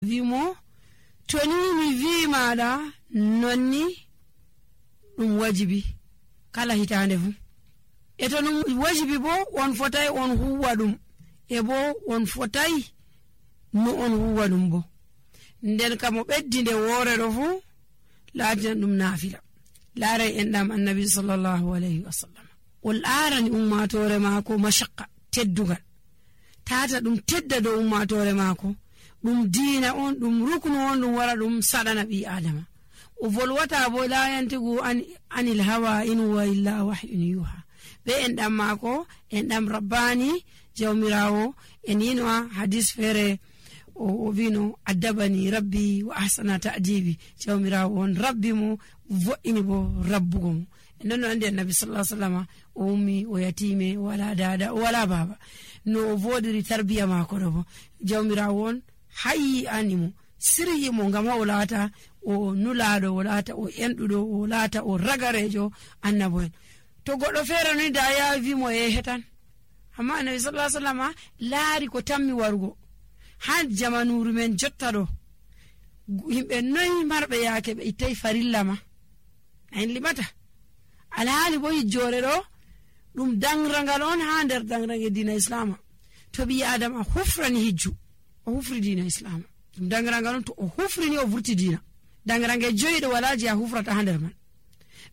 wimo to ni mi wi maɗa nonni ɗum wajibi kala hitande fu e to ɗum wajibi bo on fotai on huwa ɗum e bo on fotai no on huwa ɗum bo nden kam mo ɓeddi nde woore ɗo fu laatina ɗum naafila laaray enɗam annabi sallallahu alayhi wa sallam o laarani ummatore maako mashaqqa teddugal tata ɗum tedda dow ummatore maako ɗum diina on ɗum ruknu on ɗum wara ɗum saɗana ɓi adama o volwata bo la yantigu anil hawa in huwa illa wahyun yuha ɓe enɗam maako enɗam rabbani jawmirawo en yino hadis feere o wino addabani rabbi wa ahsana ta'dibi jawmirawo on rabbi mo vo'ini bo rabbugo mo en non andi annabi sallallahu alaihi wasallam o ummi o yatime wala dada wala baba no o vodiri tarbiya mako do bo jawmirawo on hayyi animo siryi mo ngam o laata o nulaado o laata o endudo o laata o ragarejo annabo en to goddo fere ni da ya wi mo e hetan amma annabi sallallahu alaihi wasallam laari ko tammi warugo han jamanuru men jotta do himbe noy marbe yaake be itay farilla ma en limata alhaali bo jore do dum dangrangal on ha der dangrange dina islam to bi adama hufrani hijju o hufri dina islam dum dangrangal on to o hufrini o vurti dina dangrange joydo walaji a hufrata ha der man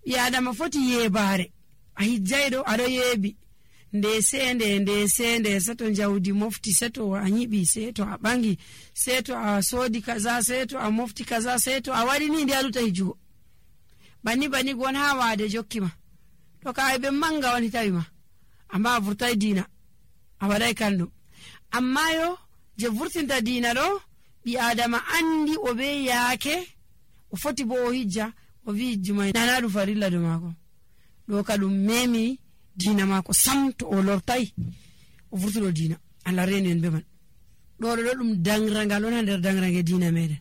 bi adama foti yebare a hijjaydo ado yebi nde sende seto jawdi mofti seto a nyibi seto a bangi seto a sodi kaza seto a mofti kaza seto a wadi ni ndialuta hijugo bani gon ha wade jokkima to kay be manga woni tawima amma vurtay dina a waday kandum amma yo je vurtinta dina do bi adama andi o be yaake o foti bo o hijja o wi jumay nanadu farilla do mako do kadum memi dina mako samto o lortay o vurtudo dina alla reni en be man do dum dangrangal on der dangrange dina meden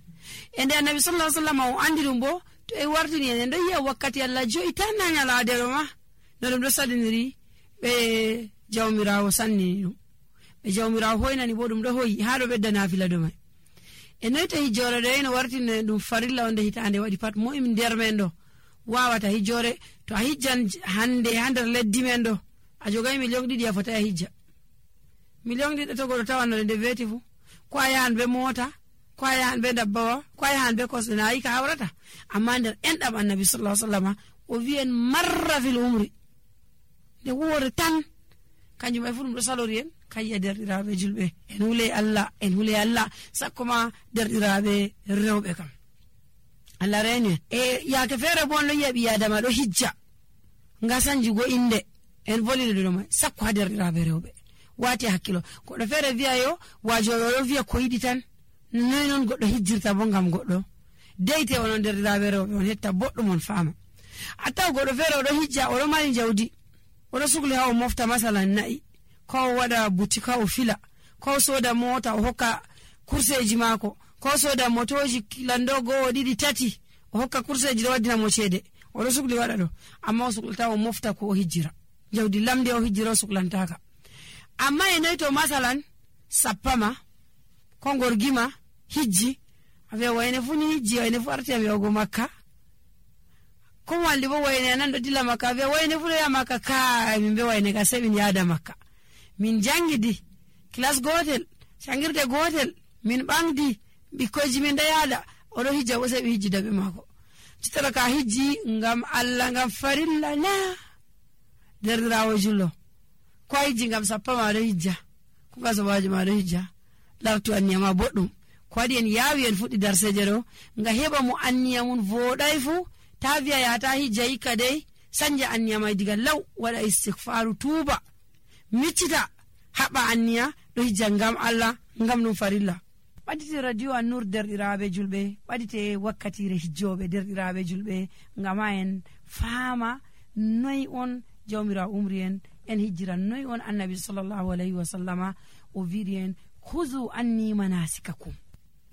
ende annabi sallallahu alaihi wasallam o andi dum bo to e wartini en do yi'a wakkati alla joyi tan nanyala dero ma no dum do sadiniri be jawmirawo sanni dum be jawmirawo hoynani bo dum do hoyi ha do bedda nafila do mai e noyta hijore do en wartine dum farilla onde hitande wadi pat mo im der men do wawata hijore to a hijjan hande hander leddi men do a jogay million didi a fota a hijja million didi to godo tawanno de veti fu ko ayan be mota ko ayan be dabbawa ko ayan be kosna yi ka hawrata amma der endam annabi sallallahu alaihi wasallam o wien marra fil umri de wore tan kanjum ay fu dum do salorien kayya derdirabe julbe en hule Allah sakoma derdirabe rewbe kam Allah reni e yaake fere bon lo yebi adama do hijja ngasanji go inde en volile do mai sakko derdirabe rewbe wati hakkilo ko do fere viya yo wajoyo do viya ko yidi tan non goddo hijjirta bo ngam goddo deyte onon derdirabe rewbe on hetta boddum on faama attaw goddo fere do hijja o do mari jawdi o do sugli hawo mofta masalan na'i ko wada butika o fila ko soda mota o hokka kurseji mako ko soda motoji lando go didi tati o hokka kurseji do wadina mo cede o do sugli wada do amma o suglata o mofta ko o hijjira jawdi lamde o hijjira suglantaka amma e noyto masalan sappama ko gorgima hijji ave wayne funi hijji wayne fu arti ave go makka ko walli bo wayne nan do dilla makka ave wayne fu ya makka ka min be wayne ka sebin yaada makka min jangidi class gotel sangirde gotel min bangdi bikoji min da yada odo hijja o sebi hijji dabe mako citara ka hijji ngam Allah ngam farilla na derdirawo jullo ko hijji ngam sappa ma do hijja ko gaso waji ma do hijja lartu anniyama boddum ko wadi en yawi en fuddi darseje do nga heba mu anniyamun vodai fu taviya ya ta hijja ikadai sanja anniyama diga law wada istighfaru tuba miccita haba anniya do hijja ngam Allah ngam dum farilla wadite radio an-nur derdirabe julbe wadite wakkatire hijjobe derdirabe julbe ngama en faama noy on jawmira umrien en hijra noy on annabi sallallahu alaihi wasallama o virien khuzu anni manasikakum